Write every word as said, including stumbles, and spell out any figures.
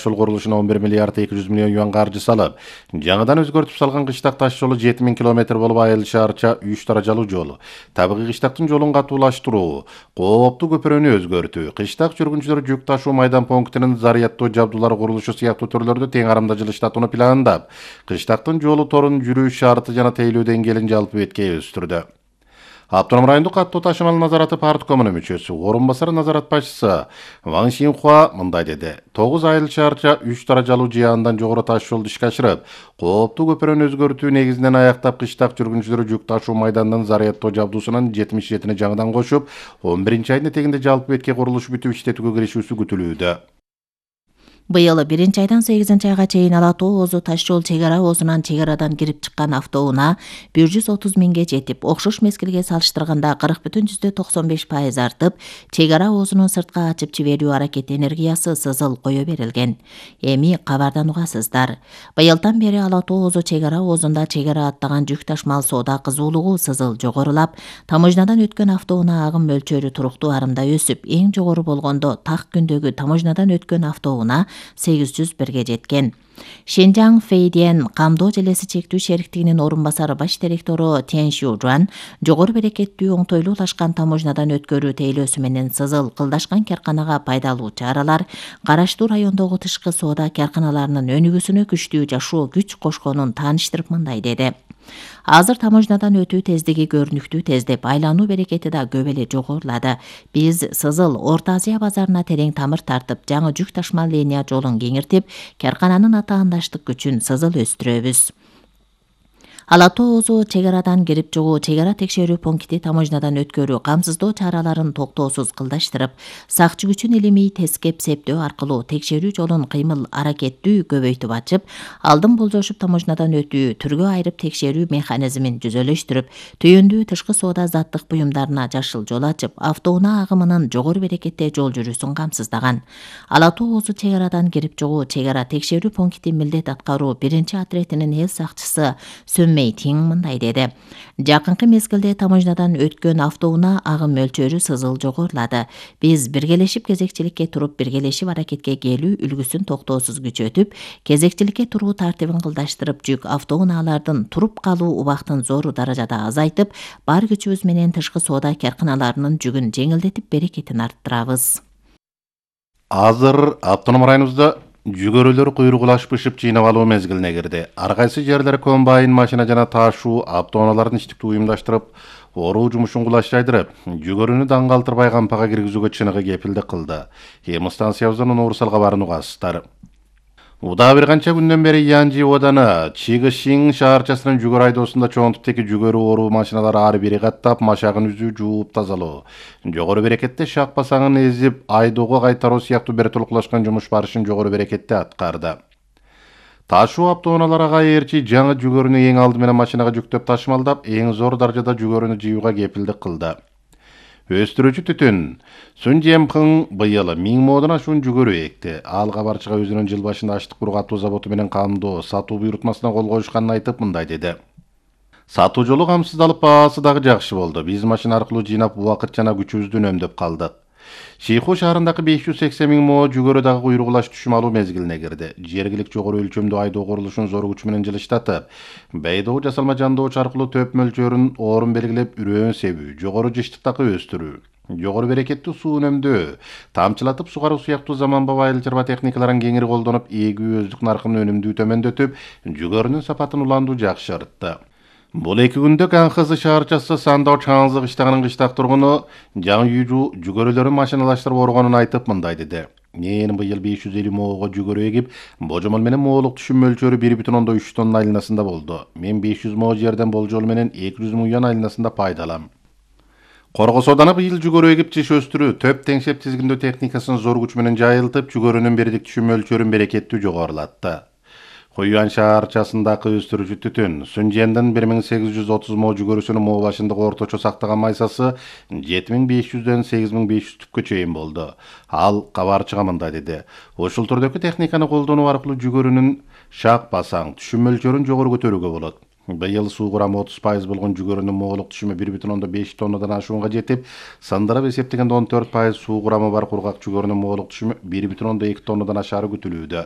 жол курулушуна он бир миллиард эки жүз миллион юан каржы салып, жаңыдан өзгөртүп салган кыштак таш жолу жети миң километр болуп, Айыл шаарча үч даражалуу жол, табигый кыштактын жолун катуулаштыруу, кооптуу көпүрөнү өзгөртүү, кыштак жүргүнчүлөр жүк ташуу майдан пунктунун заряддоо жабдуулары курулушу сыяктуу төрлөрдө тең арамда жылыштатууну пландап, кыштактын жолу торун жүрүү шарты жана тейлөө деңгээлин жалпы бетке өстүрдү. Автоном райондук каттоо ташымал назараты парткомунун мүчөсү, орун басары назарат башчысы Ван Шинхуа мындай деди. тогуз айыл шаарча үч даражалуу же андан жогору таш жолду ишке ашырып, кооптуу көпүрөнү өзгөртүү негизинен аяктап, кыштак жүргүнчүлөр жүк ташуу майданынын заряддоо жабдуусунун жетимиш жетини жаңыдан кошуп, он биринчи айдын этегинде жалпы бетке курулуш бүтүп иштетүүгө киришүүсү күтүлүүдө. Быйыл биринчи айдан сегизинчи айга чейин Ала Тоо Озу таш жол чек ара озунан чек арадан кирип чыккан автоунаа бир жүз отуз миңге жетип, окшош мезгилге салыштырганда кырк бүтүн жүздө токсон беш пайыз артып, чек ара оозунун сыртка ачып жиберүү аракети энергиясы сызыл кое берилген. Эми кабардан угасыздар. Быйылдан бери Ала Тоо Озу чек ара оозунда чек ара аттаган жүк ташмал соода кызуулугу сызыл жогорулап, таможнядан өткөн автоунаа агым мөлчөрү туруктуу арымда өсүп, эң жогору болгондо так күндөгү таможнядан өткөн автоунаа сегиз жүз бирге жеткен. Шенжаң Фейден камдоо желеси чектүү шериктигинин орун басары баш директору Тен Шужуан жогору берекеттүү оңтойлуулашкан таможнядан өткөрүү тейлөөсү менен сызыл кылдашкан карканага пайдалуу чаралар караштуу райондогу тышкы соода карканаларынын өнүгүүсүнө күчтүү жашоо күч кошконун тааныштырып мындай деди. Азыр таможнядан өтүү тездиги көрүнүктүү тездеп, айлануу берекети да көп эле жогорулады. Биз Сызыл Орто Азия базарына терең тамыр тартып, жаңы жүк ташмал линия жолун кеңиртип, каркананын атаандаштык күчүн сызыл өстүрөбүз. Ала Тоо Озу чек арадан кирип чыгуу, чек ара текшерүү пункти таможнядан өткөрүү, камсыздоо чараларын токтоосуз кылдаштырып, сакчы күчүн илимий тескеп септөө аркылуу текшерүү жолун кыймыл аракеттүү көбөйтүп ачып, алдын болжошуп таможнядан өтүү, түргө айырып текшерүү механизмин жүзөлөштүрүп, түйөндүү тышкы соода заттык буюмдарына жашыл жол ачып, автоунаа агымынын жогору берекетте жол жүрүүсүн камсыздаган. Ала Тоо Озу чек арадан кирип чыгуу, чек ара текшерүү пункти милдет аткаруу биринчи отретинин эл сакчысы Мейтинг мындай деди. Жакынкы мезгилде таможнядан өткөн автоунаа агым мөлчөрү сызыл жогорулады. Биз биргелешип кезекчиликке туруп, биргелешип аракетке келүү үлгүсүн токтоосуз күчөтүп, кезекчиликке туруу тартибин кылдаштырып, жүк автоунаалардын туруп калуу убактын зор даражада азайтып, бар күчүбүз менен тышкы соода карканаларынын жүгүн жеңилдетип, берекетин арттырабыз. Азыр автоном районубузда жүгөрүлөр куйругулашып жыйнап алуу мезгилине кирди. Ар кайсы жерлер комбайн, машина жана ташуу автоунаалардын иштиктүү уюмдаштырып, оруу жумушун кулачтайдырып, жүгөрүнү даңгы алтырбай кампага киргизүүгө чыныгы кепилдик кылды. Эми станциябыздан Нуурсал кабарын угасыздар. Уда бир канча күндөн бери Янжи ооданы Чигышин шаарчасынын жүгөрү айдоосунда чоң типтеги жүгөрү оруу машиналары ар бири каттап, машагын үзүү, жууп тазалоо, жогору берекетте шак басаңын эзип, айдоого кайтаруу сыяктуу бир толкулашкан жумуш барышын жогору берекетте аткарды. Ташуу автоунаалары кайырчы жаңы жүгөрүнү эң алды менен машинага жүктөп ташымалдап, эң зор даражада жүгөрүнү жыюуга кепилдик кылды. Өстүрүүчү түтүн Сун Жемпын быйыл миң модон ашуун жүгөрү экти. Ал кабарчыга өзүнүн жыл башында аштык буруу катуу заводу менен камдоо, сатуу буйрутмасына кол коюшканын айтып мындай деди. Сатуу жолу камсыздалып, баасы дагы жакшы болду. Биз машина аркылуу жыйнап, убакыт жана күчүбүздү үнөмдөп калдык. Шийху шаарындагы беш жүз сексен миң мо жүгөрү дагы куйругулаш түшүм алуу мезгилине кирди. Жергилик жогору өлчөмдүү айдоо курулушун зор күч менен жылыштатып, бейдоо жасалма жандоочу аркылуу төп мөлчөрүн орун белгилеп, үрөөн себүү, жогору жыштыктакы өстүрүү, жогору берекеттүү суу үнөмдөө, тамчылатып сугаруу сыяктуу заманбап айыл чарба техникаларын кеңири колдонуп, эгүү өздүк наркынын өнүмдүү төмөндөтүп, жүгөрүнүн сапатын уландуу жакшыртты. Бул эки күндө Канхызы шаарчасы Сандоо Чаңзы кыштагынын кыштак тургуну жаңы үйжүү жүгөрүлөрүн машиналаштырып оргонун айтып мындай деди. Мен быйыл беш жүз элүү моого жүгөрү эгип, божомол менен моолук түшүм мөлчөрү бир бүтүн ондон үч тонна айланасында болду. Мен беш жүз мо жерден болжол менен эки жүз миң юан айланасында пайда алам. Коргос ооданы быйыл жүгөрү эгип жыш өстүрүү, төп теңшеп тизгиндөө техникасын зор күч менен жайылтып, жүгөрүнүн бирдик түшүм мөлчөрүн берекеттүү жогорулатты. Хуюан шаарчасындагы өстүрүүчү түтүн Сүнжендин бир миң сегиз жүз отуз мо жүгөрүсүнүн мо башындагы орточо сактаган майсасы жети миң беш жүздөн сегиз миң беш жүз түпкө чейин болду. Ал кабарчыга мындай деди. Ушул түрдөгү техниканы колдонуу аркылуу жүгөрүнүн шак басаң, түшүм мөлчөрүн жогору көтөрүүгө болот. Быйыл суу курамы отуз пайыз болгон жүгөрүнүн моолук түшүмү бир бүтүн ондон беш тоннадан ашуунга жетип, сындырып эсептегенде он төрт пайыз суу курамы бар кургак жүгөрүнүн моолук түшүмү бир бүтүн ондон эки тоннадан ашаары күтүлүүдө.